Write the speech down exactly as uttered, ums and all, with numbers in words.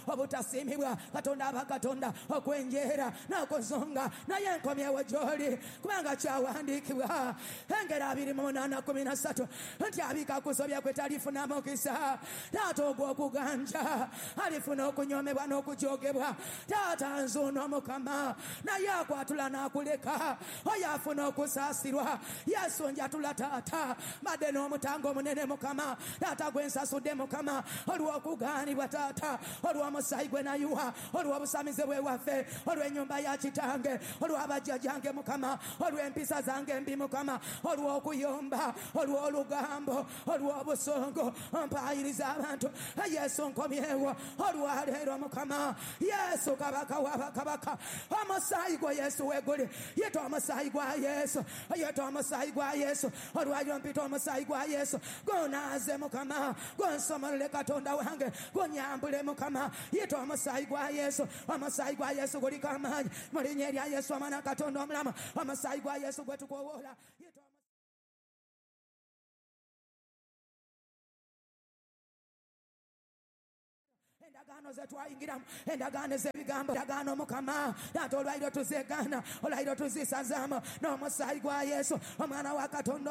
Obutasiimibwa Katonda aba Katonda okwenjeera n'okuzunga, naye nkomyewo gy'oli kubanga kyawandiikibwa engero abiri mu munaana kumi na ssatu nti abika kusobya kwe talifuna mukisa. Taata ogw'okuganja alifuna okunyomebwa n'okujoogebwa. Taata nzuuno Mukama, naye akwatula n'akuleka oyo afuna okusaasirwa. Yesu njatula taata, mbadde n'omutango omunene Mukama, taata gwe nsasudde Mukama olw'okugaanibwa taata, olw'omusaayi gwe nayiwa, olw'obusamize bwe waffe, olw'ennyumba ya kitange, olw'abajjajjange Mukama, olw'empisa zange embi Mukama, olw'okuyomba, olw'olugambo, olw'obusungu mpaayiriza abantu. Yesu nkomyewo olwaleero Mukama. Yesu Kabaka w'abakabaka, omusaayi gwa Yesu weguli, yita omusaayi gwa Yesu, yita omusaayi gwa Yesu, olwaliro mpita omusaayi gwa Yesu gunaaze Mukama, gunsomolole Katonda wange, gunyambule Mukama. Yita omusaayi gwa Yesu, omusaayi gwa Yesu guliko amaanyi mu linnya erya Yesu omwana Katonda omulamu, omusaayi gwa Yesu gwe tukoowoola. Yita endagaano ze twayingiramu, endagaano ez'ebigambo, endagaano Mukama taata olwaliro tuzeegaana, olwaliro tuzisazaamu n'omusaayi gwa Yesu omwana wa Katonda.